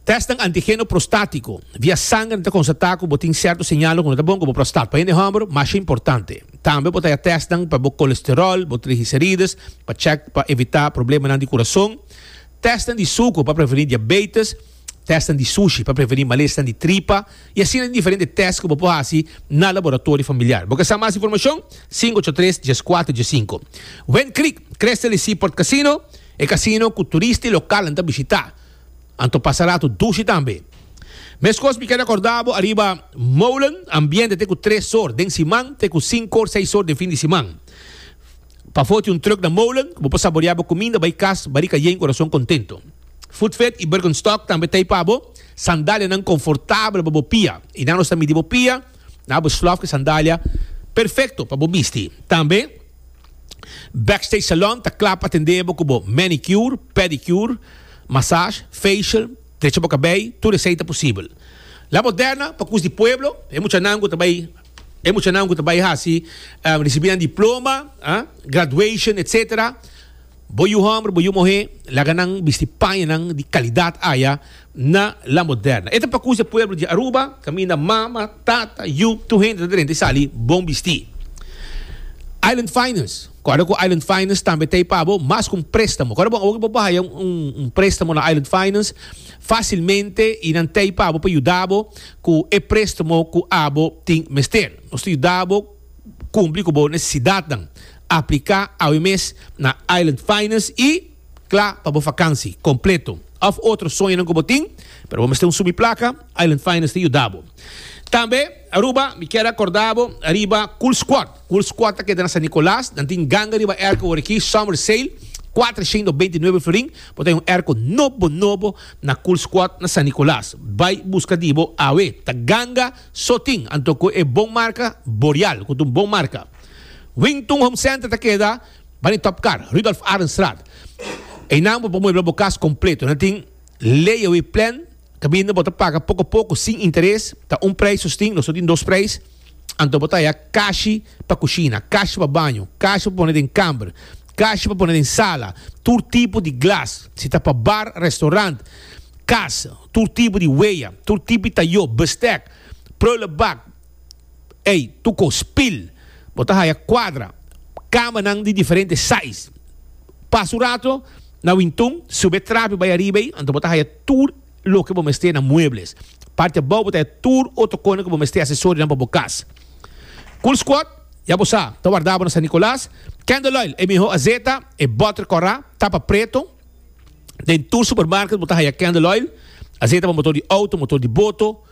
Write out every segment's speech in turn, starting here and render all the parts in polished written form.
Testnan antigeno prostátiko via sanger ta konstatá ku bo tin sierto señalnan ku no ta bon ku bo prostat. Pa hende hòmber masha importante. Tambe bo ta haya testnan pa bo kolesteròl, bo triglicerides, pa chèk pa evitá problemanan di kurason. Testnan di suku pa prevení diabetes, testnan di sushi pa prevení malesnan di tripa i asina tin diferente tèst ku bo por hasi na laboratorio familiar. Bo ke sa mas informashon? Sinku ocho tres, dieskuater, diesinku. Wind Creek, Crystal i Seaport Casino. E kasino ku turista i lokalnan ta bishitá. Anto pasa ratu dushi tambe. Meskos mi kere akorda bo ariba Molen, ambiente te ku tres or den siman te ku sinku or seis or den fin di siman. Pafó tin un trùk na Molen ku bo por saboreá bo kuminda bai kas barika yen kurason kontento. Foodfit i Birkenstock tambe ta ei pa bo, sandalianan konfortabel pa bo pia. I nan nos ta midi bo pia, nan bo slòf ku e sandalia perfekto pa bo bisti. Tambe. Backstage Salon ta kla pa atendé bo ku bo manicure, pedicure, massage, facial, drecha bo kabei, tur esei ta posibel. La Moderna pa kus di pueblo, e muchanan ku ta bai e muchanan ku ta bai hasi risibí nan diploma, graduation etc. Bo yu hòmber, bo yu muhé, laga nan bisti pañanan di kalidat aya na La Moderna. E ta pa kus e pueblo di Aruba, kaminda mama, tata, yu, tur hende ta drenta i sali bon bistí. Island Finance, Kòrda ku Island Finance tambe ta ei pa bo mas ku un préstamo. Kòrda bon, awor ku bo por haya un préstamo na Island Finance fásilmente i nan ta ei pa bo pa yuda bo ku e préstamo ku abo tin mester. Nos ta yuda bo. Kumpli ku bo nesesidatnan. Apliká awe mes na Island Finance i kla pa bo fakansi kompleto òf otro soñonan ku bo tin, pero bo mester un sumi plaka, Island Finance ta yuda bo. Tambe, Aruba, mi kier akorda bo riba Cool Squad. Cool Squad ta keda na San Nicolas. Nan tin ganga riba airco awor aki, Summer Sale, kuatrocientos beinti nuebe florin. Bo ta hay un airco nobo nobo na Cool Squad na San Nicolas. Bai buska di bo awe. Ta ganga. So tin anto ku e bon marka Boreal ku ta un bon marka. Wington Home Center ta keda bani Top Car, Rudolf Arendstraat. Einan bo por muebla bo kas kompleto. Nan tin layaway plan kaminda bo ta paga poko poko sin interes. Ta un prijs nos tin, nos no tin dos prijs. Anto bo ta haya kashi pa kushina, kashi pa baño, kashi pa pone den kamber, kashi pa pone den sala, tur tipo di glas, si ta pa bar, restaurant, kas. Tur tipo di weya, tur tipo di tayó, bestek, prullenbak, ey, tur kos, spil. Bo ta haya kuadra, kamanan di diferente size. Pasa un rato na Wintun, sube e trapi bai ariba ey, anto bo ta haya tur loke bo mester na muebles. Parti abou bo ta haya tur otro konan ku bo mester, asesorionan pa bo kas. Cool Squad, ya bo sa, ta warda bo na San Nicolas. Candle Oil, e mihó azeta, e bòter kòrá, tapa preto. Den tur supermarket bo ta haya candle oil, azeta pa motor di auto, motor di boto,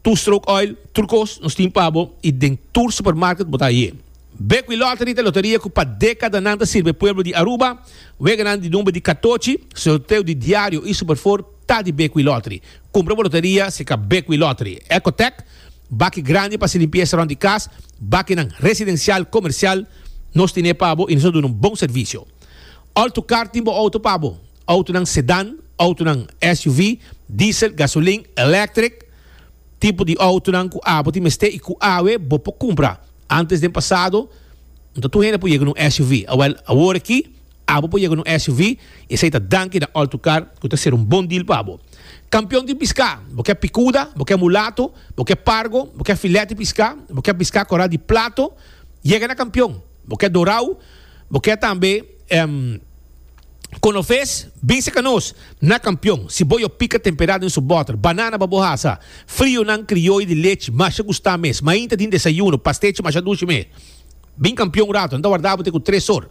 two stroke oil, tur kos nos tin pa bo y den tur supermarket bo ta haye. Bekwee Lottery ta loteria cu pa decadanan ta sirbi e pueblo di Aruba. Weganan di number di catochi, sorteo di diario y superfour ta di Bekwee Lottery. Cumpra bo loteria cerca Bekwee Lottery. Ecotec, baki grandi pa haci limpieza rond di cas, bakinan residencial, comercial, nos tine pa bo y nos ta duna un bon servicio. Alto Car tin bo auto pa bo. Autonan sedan, autonan SUV, diesel, gasolin, electric, tipo di autonan cu abo tin mester y cu awe bo por cumpra. Antes den pasado no ta tur hende por yega na un SUV. Awel awor aki abo por yega na un SUV y esey ta danki na Alto Car cu ta ser un bon deal pa bo. Campeon di pisca, bo ke picuda, bo ke mulato, bo ke pargo, bo ke filet di pisca, bo ke pisca cora di plato, yega na Campeon. Bo ke dorau, bo ke tambe konofes, bin seka nos na kampion. Siboyo pika temperá den su bòter, banana pa bo hasa, frionan krioyo di lechi masha gustá mes, mainta tin desayuno, pastechi masha dushi mes. Bin kampion un rato, nan ta warda bo te ku tres or.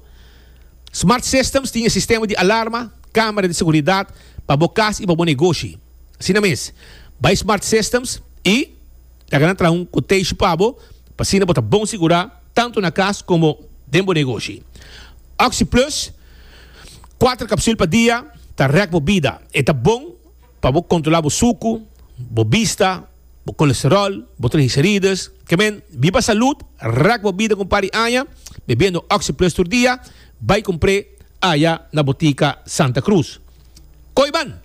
Smart Systems tin e sistema di alarma, kamera di seguridat pa bo kas i pa bo negoshi. Asina mes, bai Smart Systems i laga nan traha un quotation pa bo pa asina bo ta bon sigurá. tantu na kas komo den bo negoshi. OxyPlus, kuater kapsul pa dia, ta rèk bo bida. E ta bon pa bo kontrolá bo suku, bo bista, bo kolesteròl, bo triglicerides. Ke men, biba salud, rèk bo bida ku un par di aña, bebiendo OxyPlus tur dia. Bai kumpr'é aya na botika Santa Cruz. Koiman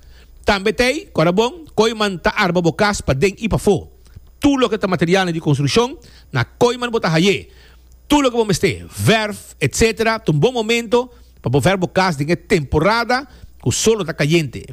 tambe t'ei, kòrda bon, Koiman ta arba bo kas paden i pafó. Tur loke ta materialnan di konstrukshon, na Koiman bo ta hay'é. Tur loke bo mester, verf, etc. Ta un bon momento pa bo verf bo kas den e temporada. Ku solo ta kayente.